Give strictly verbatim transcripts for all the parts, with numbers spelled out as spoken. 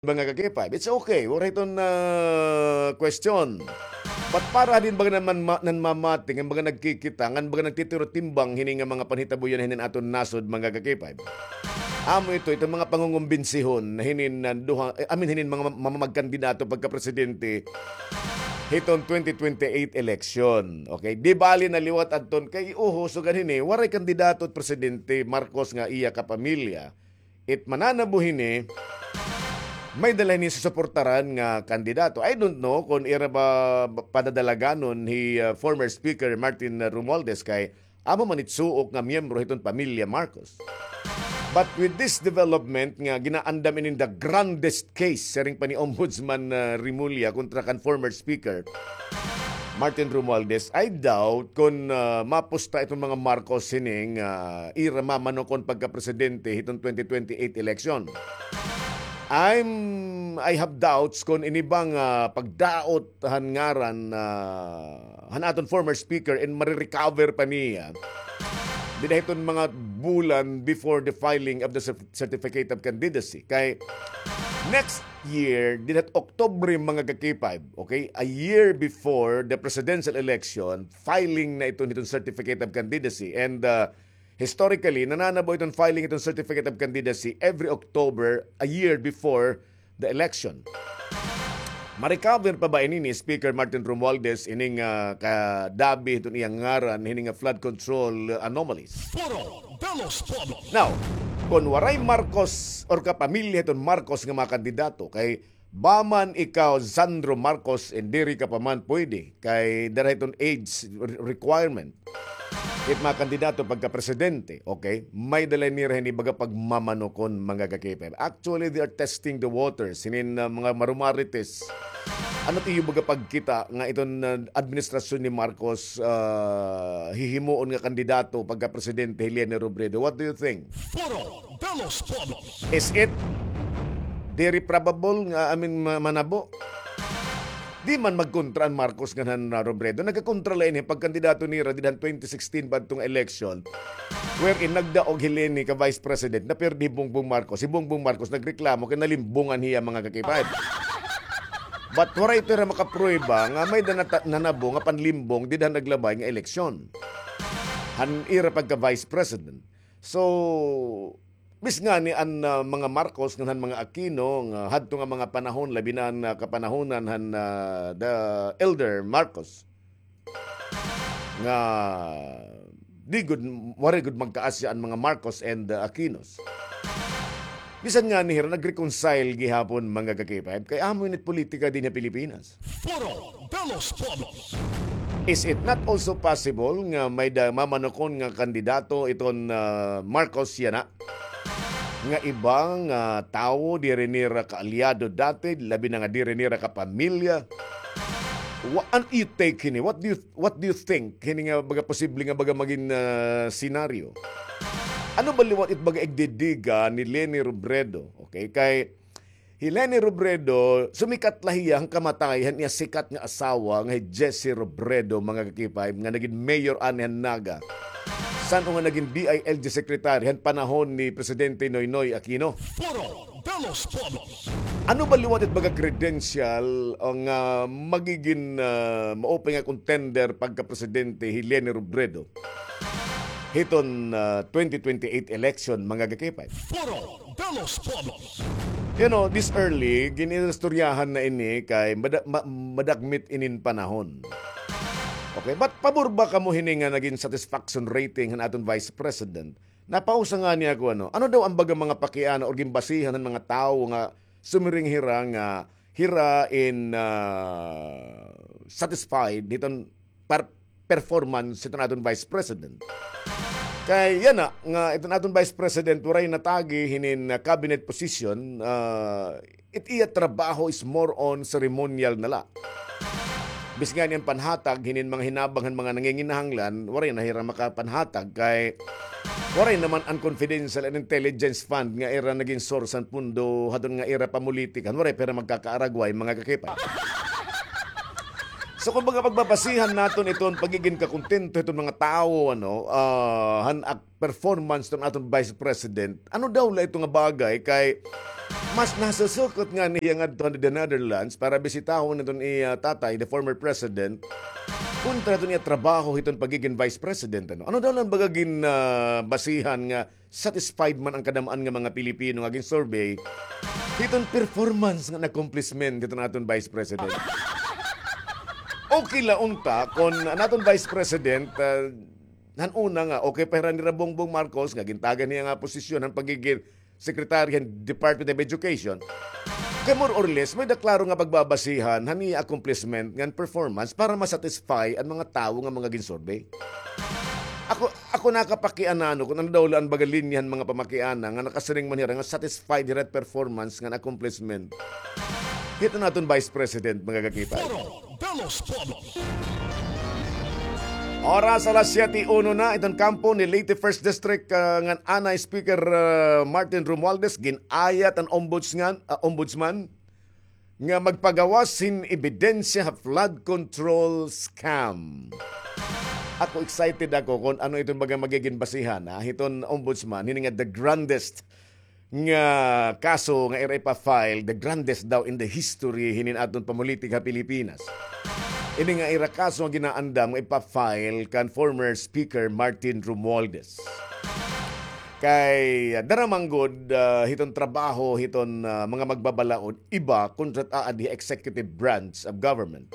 mga ka-K five. It's okay. Waray iton, ah, question. But para din baga naman ma-, nanmamati, ngan baga nagkikita, ngan baga nagtitirotimbang hini nga mga panhitabo yana hinin aton nasod, mga ka-K five. Amo ito, itong mga pangungumbinsihon na hinin, ah, duha, eh, I mean, hinin mga ma-, mamamagkandidato pagka-presidente hiton twenty twenty-eight election. Okay? Di bali na liwat adton kay uho, sugan hini, waray kandidato presidente Marcos nga iya kapamilya. It mananabo hini, may-ada la hini susuportaran nga kandidato. I don't know kon ira ba padadalaganon hi, ah, former Speaker Martin Romualdez kay amo man it suok nga miyembro hiton pamilya Marcos. But with this development nga ginaandam inin the grandest case, siring pa ni Ombudsman, ah, Remulla kontra kan former Speaker Martin Romualdez, I doubt kon, ah, mapusta iton mga Marcos hini nga, ah, ira mamanukon pagka-presidente hiton twenty twenty-eight election. I'm, I have doubts kon ini ba nga, ah, pagdaot han ngaran, ah, han aton former speaker and marirecover pa niya dida hiton mga bulan before the filing of the cer-, certificate of candidacy. Kay next year, dida October, mga ka-K five, okay? A year before the presidential election, filing na iton, iton certificate of candidacy. And, uh, historically, nananabo iton filing iton certificate of candidacy every October, a year before the election. Ma-recover pa ba ini ni Speaker Martin Romualdez ining, ah, kadabi hiton iyang ngaran hini nga flood control anomalies? Foro de los Pueblos. Now, kon waray Marcos or kapamilya hiton Marcos nga mga kandidato, kay ba man ikaw Sandro Marcos, diri ka pa man pwede, kay dara hiton age re-, requirement. It mga kandidato pagka-presidente, okay? May-ada la nira hini baga pagmamanukon, mga ka-K five. Actually, they are testing the waters. Hinin, uh, mga marumarites. Ano it iyo baga pagkita nga iton, uh, administrasyon ni Marcos, uh, hihimuon nga kandidato pagka-presidente hi Leni Robredo? What do you think? Foro de los Pueblos. Is it diri probable nga, I mean, ma-, manabo? Di man magkontra an Marcos ngan han, ah, Robredo. Nagkakontra la ini pagkandidato nira dida han twenty sixteen pa adto nga election. Wherein nagdaog hi Leni ka vice president, napirdi hi Bongbong Marcos. Hi Bongbong Marcos nagreklamo kay nalimbongan hiya, mga ka-K five. But waray ito ira makaprueba nga may-ada nata-, nanabo nga panlimbong dida han naglabay nga eleksyon han ira pagka vice president. So, bis ngani an, ah, mga Marcos ngan han mga Aquino nga hadto nga mga panahon, labi na an, ah, kapanahonan han, ah, the elder Marcos, nga di gud, waray gud magkaasya an mga Marcos and, ah, Aquinos. Bisan ngani hira nag-reconcile gihapon, mga ka-K five, kay amo ini it politika dinhi ha Pilipinas. Foro de los Pueblos. Is it not also possible nga may-ada mamanukon nga kandidato iton, ah, Marcos yana? Nga iba nga tawo, diri nira kaalyado dati, labi na nga diri nira kapamilya. Wa-, an iyo take hini? What do you, what do you think? Hini nga baga posible nga baga magin, ah, senaryo. Ano ba liwat it baga igdidiga ni Leni Robredo? Okay, kay hi Leni Robredo, sumikat la hiya han kamatay han iya sikat nga asawa nga hi Jesse Robredo, mga ka-K five, nga nagin mayor ani han Naga. San-o nga nagin D I L G secretary han panahon ni Presidente Noynoy Aquino. Foro de los Pueblos. Ano ba liwat it baga credential o nga magigin, ah, maupay nga contender pagka-presidente hi Leni Robredo hiton, ah, twenty twenty-eight election, mga ka-K five? Foro de los Pueblos. You know, this early, gin-inistoryahan na ini kay mada-, ma-, madagmit inin panahon. Okay, but pabor ba kamo hini nga nagin satisfaction rating han aton Vice President? Napausa ngani ako, ano, ano daw an baga mga pakiana or ginbasihan han mga tawo nga sumiring hira nga hira in, ah, satisfied hiton par-, performance hiton aton Vice President. Kay yana nga iton aton Vice President waray natagi hinin, ah, cabinet position, ah, it iya trabaho is more on ceremonial na la. Bis ngani an panhatag hinin mga hinabang han mga nanginginahanglan, waray na hira makapanhatag kay waray naman an confidential and intelligence fund nga ira nagin source han pondo hadton nga ira pamulitikan, waray pa hira magkakaaragway, mga ka-K five. So, kumbaga, pagbabasihan naton iton pagigin kakontento hiton mga tawo, ano, ah, han ak-, performance hiton aton Vice President, ano daw la ito nga bagay kay Mas nasusukot ngani hiya ngadto han the Netherlands para bisitahon iton iya tatay, the former president, kontra iton iya trabaho hiton pagigin vice president, ano? Ano daw la an baga gin, ah, basihan nga satisfied man an kadamaan nga mga Pilipino nga gin-survey hiton performance ngan accomplishment hiton aton vice president? Okay la unta kon an aton vice president, ah, han una nga, okay pa hira nira Bongbong Marcos nga gintagan hiya nga posisyon han pagigin secretary han Department of Education. Kay more or less, may-ada klaro nga pagbabasihan han iya accomplishment ngan performance para ma-satisfy an mga tawo nga mga gin-survey. Ako, ako nakapakianano kon ano daw la an baga linya han mga pamakiana nga nakasiring man hira nga satisfied hira performance ngan accomplishment hiton aton vice president, mga kakipay. Foro de los Pueblos. Oras alas siyete uno na, iton kampo ni Leyte First District, ah, ngan anay Speaker, ah, Martin Romualdez, gin-ayat an ombudsman, ah, ombudsman nga magpagawas hin ebidensya ha flood control scam. Ako, excited ako kon ano iton baga magigin basihan, ha, hiton ombudsman, hini nga the grandest nga kaso nga ira ipa-file, the grandest daw in the history hinin aton pamolitik ha Pilipinas. Ini nga ira kaso nga ginaandam nga ipa-file kan former Speaker Martin Romualdez. Kay, ah, dara man gud, ah, hiton trabaho hiton, ah, mga magbabalaod, iba kontra it aadi ha executive branch of government.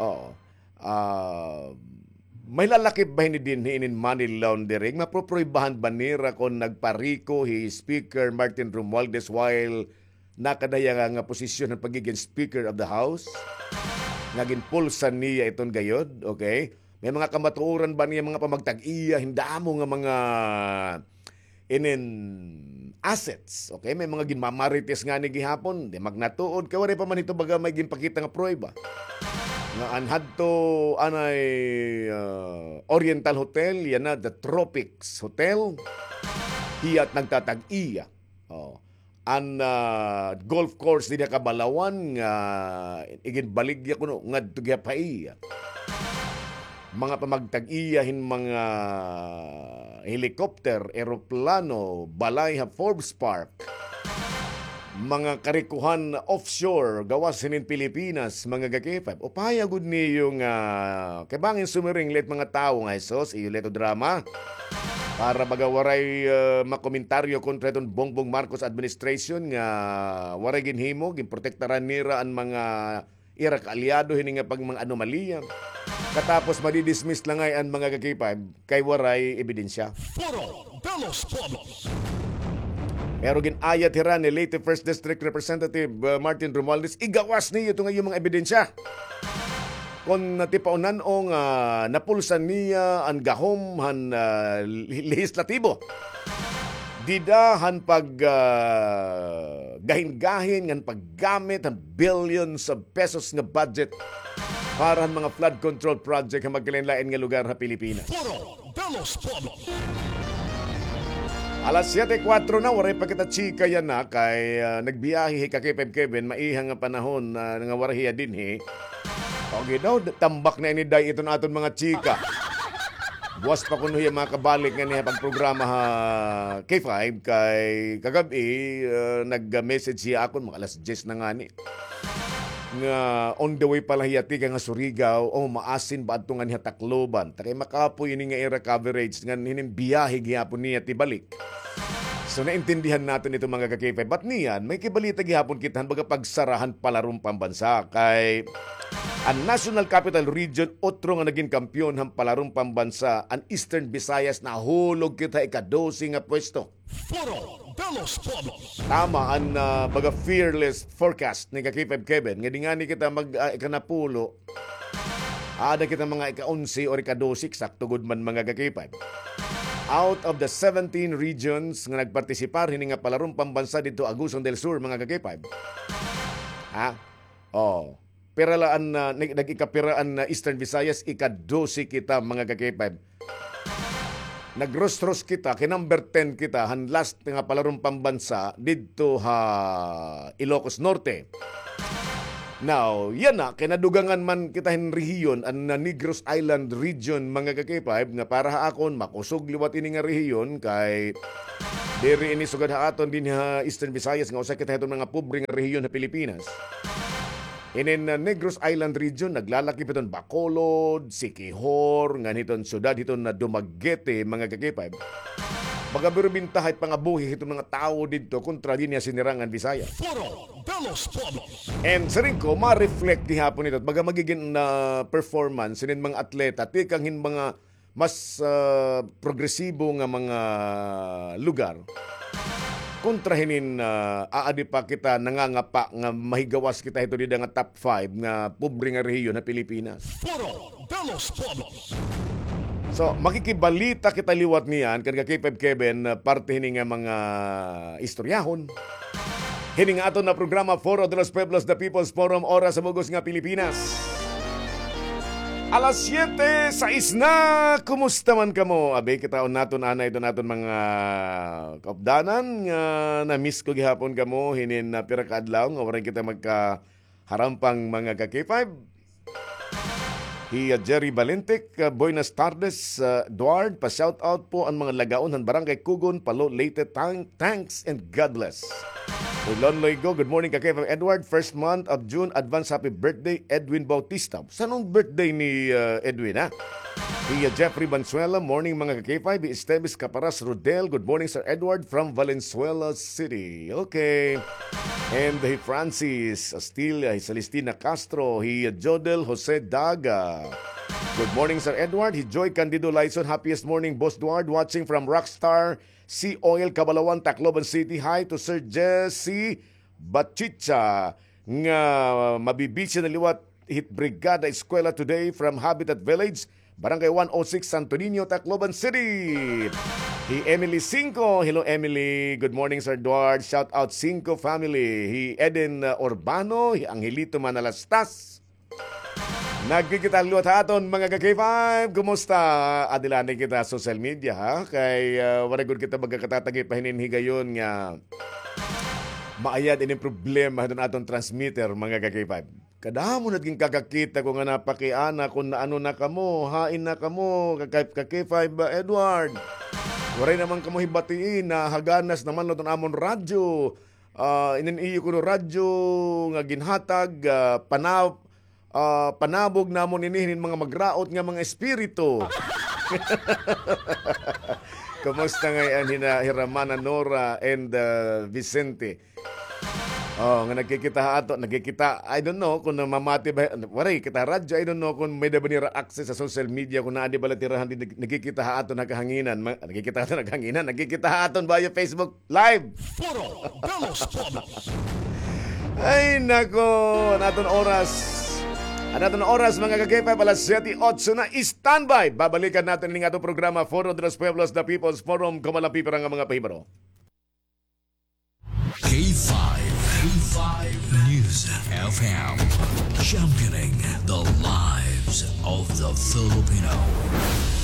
Oo. Ah, may lalakip ba hini dinhi inin money laundering? Maproproybahan ba nira kon nagpariko hi Speaker Martin Romualdez while nakada hiya nga, nga posisyon han pagigin Speaker of the House? Nga ginpulsan niya iton gayod, okay? May mga kamatuoran ba niya, mga pamagtag-iya, hin damo nga mga inin assets. Okay, may mga ginmamarites ngani gihapon, di magnatuod, kay waray pa man hito baga may ginpakita nga pruweba. Nga an hadto anay, ah, Oriental Hotel, yana the Tropics Hotel, hiya it nagtatag-iya. Oh. An, ah, golf course dinhi ha Cabalawan nga iginbaligya kuno ngadto gihap ha iya. Mga pamagtag-iya hin mga helicopter, eroplano, balay ha Forbes Park, mga karikohan offshore, gawas hinin Pilipinas, mga ka-K five. Upaya gud niyo nga, kay bangin sumiring la it mga tawo nga, "Hesus, iyo la ito drama." Para baga waray, ah, makomentaryo kontra iton Bongbong Marcos administration nga waray ginhimo, ginprotektaran nira an mga ira kaalyado hini nga pag mga anomalya. Katapos madidismiss la ngay an mga ka-K five kay waray ebidensya. Foro de los Pueblos. Pero gin-ayat hira ni Leyte First District Representative, uh, Martin Romualdez, igawas niyo ito nga iyo mga ebidensya. Kon natipaonan o nga napulsan niya an gahom han, ah, le-, lehislatibo. Dida han pag, ah, gahin-gahin ngan paggamit han billions of pesos nga budget para han mga flood control project ha magkalain-lain nga lugar ha Pilipinas. Foro de los Pueblos. Alas siyete kuwatro na, waray pa kita chika yana kay, ah, nagbiyahe hi ka-K five Kevin, maiha nga panahon, ah, nga waray hiya dinhi. Okay daw, d-, tambak na ini day iton aton mga chika. Buwas pa kuno hiya makabalik ngani ha pagprograma ha K five kay kagab-i, ah, nag-message hiya akon, mga alas diyes na ngani. Nga on the way pa la hiya tikang ha Surigao, o maasin ba adto ngani ha Tacloban. Ta kay makapoy ini nga ira coverage, ngan hinin biyahe gihapon niya tibalik. So, naintindihan naton ito, mga ka-K five. But niyan, may kibalita gihapon kita han baga pagsara han palarong pambansa. Kay an National Capital Region, otro nga nagin kampiyon han palarong pambansa, an Eastern Visayas, nahulog kita ika-dose nga pwesto. Foro de los Pueblos. Tama an, ah, baga fearless forecast ni ka-K five Kevin. Nga di ngani kita mag, ah, ikanapulo. Aada kita mga ika-onse or ika-dose, eksakto gud man, mga ka-K five. Out of the seventeen regions nga nagpartisipar hini nga palarong pambansa didto Agusan del Sur, mga ka-K five. Ha? Oh. Pira la an, ah, nag-, nag-ikapira an, ah, Eastern Visayas, ika-dose kita, mga ka-K five. Nagrostros kita, kay number ten kita, han last nga palarong pambansa didto ha Ilocos Norte. Now, yana, kay nadugangan man kita hin rehiyon, an, ah, Negros Island region, mga ka-K five, nga para ha akon, makusog liwat ini nga rehiyon, kay Diri ini sugad ha aton dinhi ha Eastern Visayas nga usa kita hiton mga pobre nga rehiyon ha Pilipinas. Inin, ah, Negros Island Region, naglalakip hiton Bacolod, Siquijor, ngan hiton syudad hiton na Dumaguete, mga ka-K five. Baga pero bintaha it pangabuhi hiton mga tawo didto kontra dinhi ha Sinirangan Visayas. Foro de los Pueblos. And siring ko, ma-reflect gihapon ito. Baga magigin na performance hinin mga atleta, tikang hin mga mas, ah, progresibo nga mga lugar. Kontra hinin, ah, aadi pa kita nangangapa nga mahigawas kita hito dida nga top five nga pobre nga rehiyon ha Pilipinas. Foro de los Pueblos. So, makikibalita kita liwat niyan, kan ka-K five Kevin, ah, parte hini nga mga istoryahon. Hini nga aton na programa, Foro de los Pueblos, The People's Forum, oras sa bug-os nga Pilipinas. Alas siyete, sais na. Kumusta man kamo? Abi, kitaon naton anay iton aton mga kaupdanan nga na-miss ko gihapon kamo hinin na pira ka adlaw nga waray kita magkaharampang, mga ka-K five. Hi, uh, Jerry Balintic, uh, buenas tardes, uh, Edward. Pa-shout out po an mga lagaon han Barangay Kugon, Palo, Leyte. Thank-, thanks and God bless. Hi, Lon Loigo, good morning, ka-K five Edward. First month of June, advance happy birthday, Edwin Bautista. Sanong birthday ni, uh, Edwin, ha? Hi, uh, Jeffrey Banzuela, morning, mga ka-K five. Hi, Esteves Caparas Rodel, good morning, Sir Edward, from Valenzuela City. Okay. And hi Francis Astilla, hi Celestina Castro, hi Jodel Jose Daga. Good morning, Sir Edward. Hi Joy Candido Lyson, happiest morning, Boss Edward, watching from Rockstar Sea Oil, Cabalawan, Tacloban City. Hi to Sir Jesse Bachicha, nga mabibisya na liwat hit Brigada Eskwela today from Habitat Village, Barangay one oh six, Santo Niño, Tacloban City. Hi Emily Cinco. Hello, Emily. Good morning, Sir Edward. Shout out, Cinco family. Hi Eden, uh, Urbano, hi Angelito Manalastas. Nagkikita liwat ha aton, mga ka-K five. Kumusta? Adila na kita social media, ha? Kay, uh, waray gud kita magkakatatagi pa hinin higayon nga maayad ini problema hiton aton transmitter, mga ka-K five. Kadamo na it ginkakakita ko nga napakiana kon naano na kamo, hain na kamo, ka-, ka-K five ba, Edward? Waray naman kamo hibatiin, nahaganas naman la iton amon radyo. Ah, inin iyo kuno radyo nga ginhatag, ah, pana-, ah, panabog namon ini hinin mga magraot nga mga espiritu. Kumusta ngay-an hina, Hiramana Nora and, ah, Vicente? Oh, nga nagkikita ha aton, nagkikita, I don't know kon mamati ba, waray kita radyo, I don't know kon may-ada ba nira access sa social media, kon naa di bala tirahan di nag-, nagkikita ha aton ha kahanginan, ma-, nagkikita ha aton ha kahanginan, nagkikita ha aton via Facebook Live. Foro de los Pueblos. Ay, nako, an aton oras. An aton oras, mga ka-K five, alas siyete otso na, standby. Babalikan naton ini nga aton programa, Foro de los Pueblos, The People's Forum, kon may pipira nga mga pahibaro. K five, K five News F M, championing the lives of the Filipino.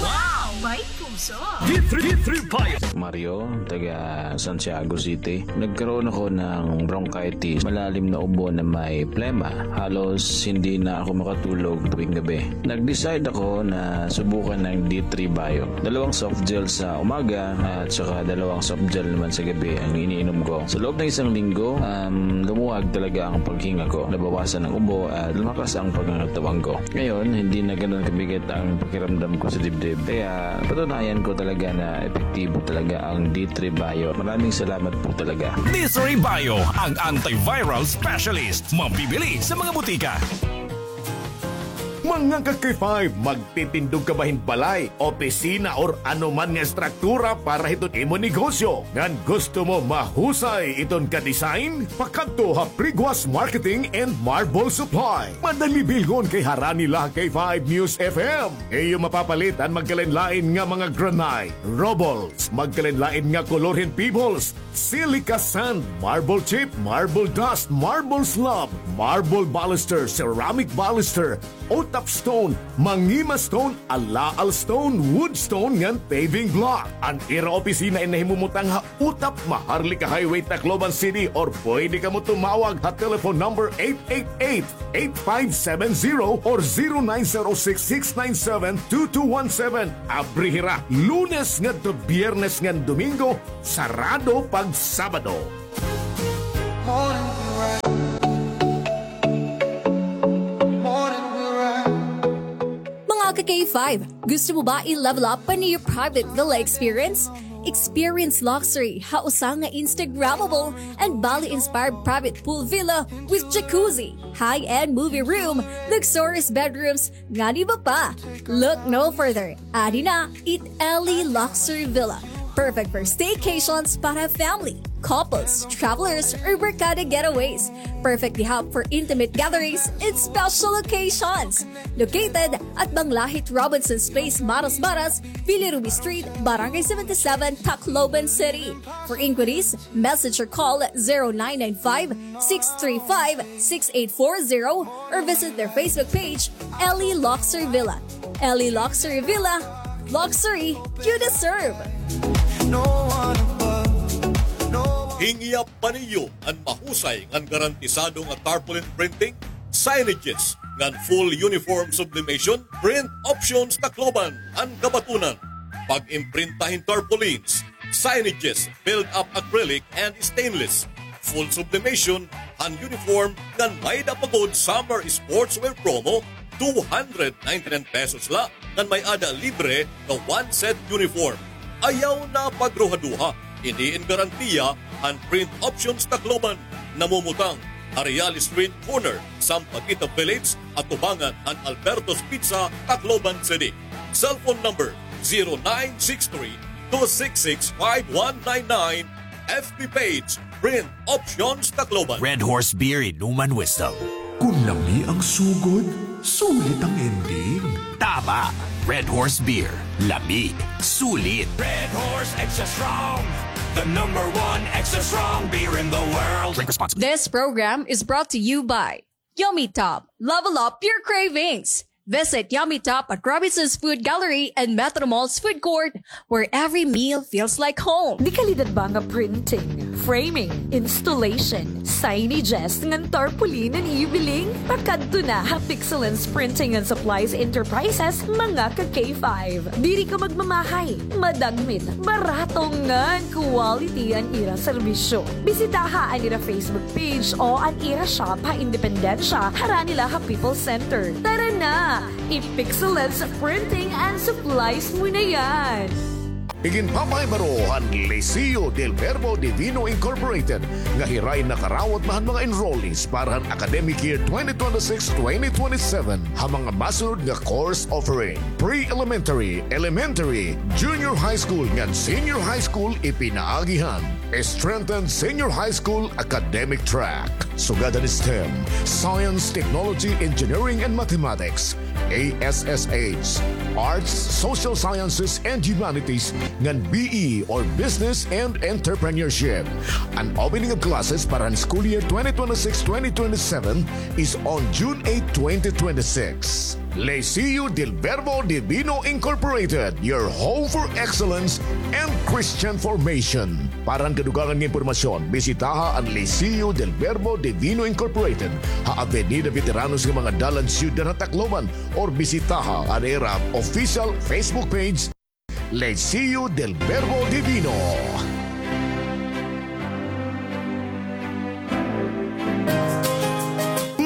Wow! May puso! D three, D three Bayo. Mario, taga Santiago City. Nagkaroon ako ng bronchitis, malalim na ubo na may plema. Halos hindi na ako makatulog tuwing gabi. Nag-decide ako na subukan ng D three Bayo. Dalawang soft gel sa umaga at saka dalawang soft gel naman sa gabi ang iniinom ko. Sa loob ng isang linggo, um, lumuwag talaga ang paghinga ko. Nabawasan ang ubo at lumakas ang pangangatawan ko. Ngayon, hindi na ganun kabigat ang pakiramdam ko sa dibdib. Kaya, patunayan ko talaga na epektibo talaga ang D three Bayo. Maraming salamat po talaga. D three Bayo, ang antiviral specialist. Mabibili sa mga butika. Mga ka-K five, magtitindog ka ba hin balay, opisina, or ano man nga estruktura para hiton imo negosyo? Ngan gusto mo mahusay iton ka-design? Pakadto ha Priguas Marketing and Marble Supply. Madali bilhon kay harani la ha K five News F M. Iyo mapapalit an magkalain-lain nga mga granite, rubbles, magkalain-lain nga kolor hin pebbles, silica sand, marble chip, marble dust, marble slab, marble baluster, ceramic baluster, o Tap Stone, Mangima Stone, Alaal Stone, Wood Stone ngan paving block. An ira opisina in nahimumutang ha Utap, Maharlika Highway, Tacloban City, or pwede kamo tumawag ha telephone number eight eight eight, eight five seven zero or zero nine zero six, six nine seven, two two one seven. Abri hira Lunes ngadto Biyernes ngan Domingo, sarado pag Sabado. Mga ka-K five, gusto mo ba i-level up pa an iyo private villa experience? Experience luxury ha usa nga Instagrammable and Bali-inspired private pool villa with jacuzzi, high-end movie room, luxurious bedrooms, ngan iba pa. Look no further. Adi na it Ellie Luxury Villa. Perfect for staycations para family, couples, travelers, or barkada getaways. Perfect di hap for intimate gatherings and special occasions. Located at Banglahit Robinson's Place, Maras Maras, Villa Ruby Street, Barangay seventy-seven, Tacloban City. For inquiries, message or call zero nine nine five, six three five, six eight four zero or visit their Facebook page, Ellie Luxury Villa. Ellie Luxury Villa, luxury you deserve. Hingyap pa niyo an mahusay ngan garantisado nga tarpaulin printing, signages, ngan full uniform sublimation? Print Options Tacloban an kabatunan. Pag-imprinta hin tarpaulins, signages, build-up acrylic and stainless, full sublimation han uniform, ngan may-ada pa gud summer sportswear promo, two hundred ninety-nine pesos la, ngan may-ada libre nga one set uniform. Ayaw na pagruhaduha, ini in garantiya han Print Options Tacloban. Namumutang ha Real Street, corner Sampaguita Village, atubangan han Alberto's Pizza, Tacloban City. Cellphone number zero nine six three, two six six, five one nine nine. F B page, Print Options Tacloban. Red Horse Beer, Inuman Wisdom. Kung lami ang sugod, sulit ang ending. Tama! Red Horse Beer. Lami. Sulit. Red Horse Extra Strong, the number one extra strong beer in the world. Drink responsibly. This program is brought to you by Yummy Top. Level up your cravings. Visit Yummy Top at Robinson's Food Gallery and Metro Mall's food court, where every meal feels like home. Dekalidad ba nga printing, framing, installation, signages, ngan tarpaulin an iyo biling? Pakadto na ha Pixelens Printing and Supplies Enterprises, mga ka-K five. Diri ka magmamahay, madagmit, barato ngan quality an ira serbisyo. Bisitaha an ira Facebook page o an ira shop ha Independencia, harani la ha People's Center. Tara na! I-Pixelens Printing and Supplies mo na yan! Iginpapahibaro han Liceo del Verbo Divino Incorporated nga hiray nakarawat na han mga enrollees para han academic year twenty twenty-six twenty twenty-seven ha mga masunod nga course offering: pre-elementary, elementary, junior high school, ngan senior high school. Ipinaagi han strengthened senior high school academic track, sugad han STEM, science, technology, engineering, and mathematics, A S S H, arts, social sciences, and humanities, ngan B E or business and entrepreneurship. An opening of classes para han school year twenty twenty-six twenty twenty-seven is on June eight, twenty twenty-six. Liceo del Verbo Divino Incorporated, your home for excellence and Christian formation. Para han kadugangan nga impormasyon, bisitaha an Liceo del Verbo Divino Incorporated ha Avenida Veteranos nga mga dalan, Siyudad ha Tacloban, or bisitaha an ira official Facebook page, Liceo del Verbo Divino.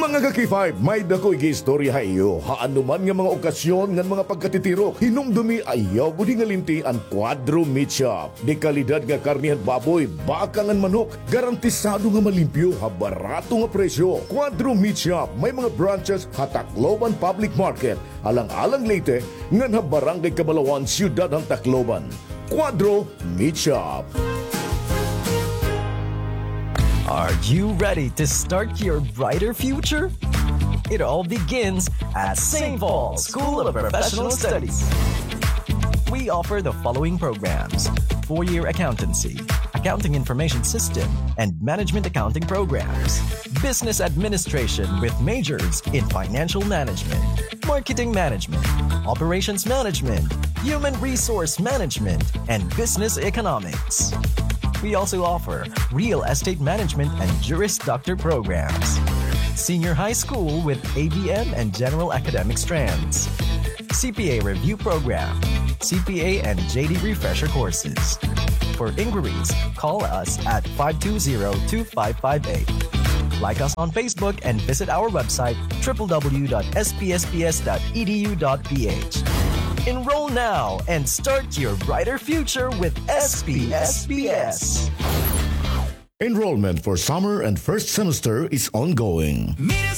Mga ka-K five, may-ada ko igiistorya ha iyo. Ha anoman nga mga okasyon ngan mga pagkatitirok, hinumdumi, ayaw gud hingalinti an Cuadro Meat Shop. Dekalidad nga karne han baboy, baka ngan manok, garantisado nga malimpyo ha barato nga presyo. Cuadro Meat Shop, may mga branches ha Tacloban Public Market, Alang-alang, Leyte, ngan ha Barangay Cabalawan, Siyudad han Tacloban. Cuadro Meat Shop. Are you ready to start your brighter future? It all begins at Saint Paul School of Professional Studies. We offer the following programs: four-year accountancy, accounting information system, and management accounting programs. business administration with majors in financial management, marketing management, operations management, human resource management, and business economics. We also offer real estate management and Juris Doctor programs. Senior high school with A B M and general academic strands. C P A review program, C P A and J D refresher courses. For inquiries, call us at five two zero two five five eight. Like us on Facebook and visit our website, triple W dot S P S P S dot E D U dot P H. Enroll now and start your brighter future with S P S P S. Enrollment for summer and first semester is ongoing.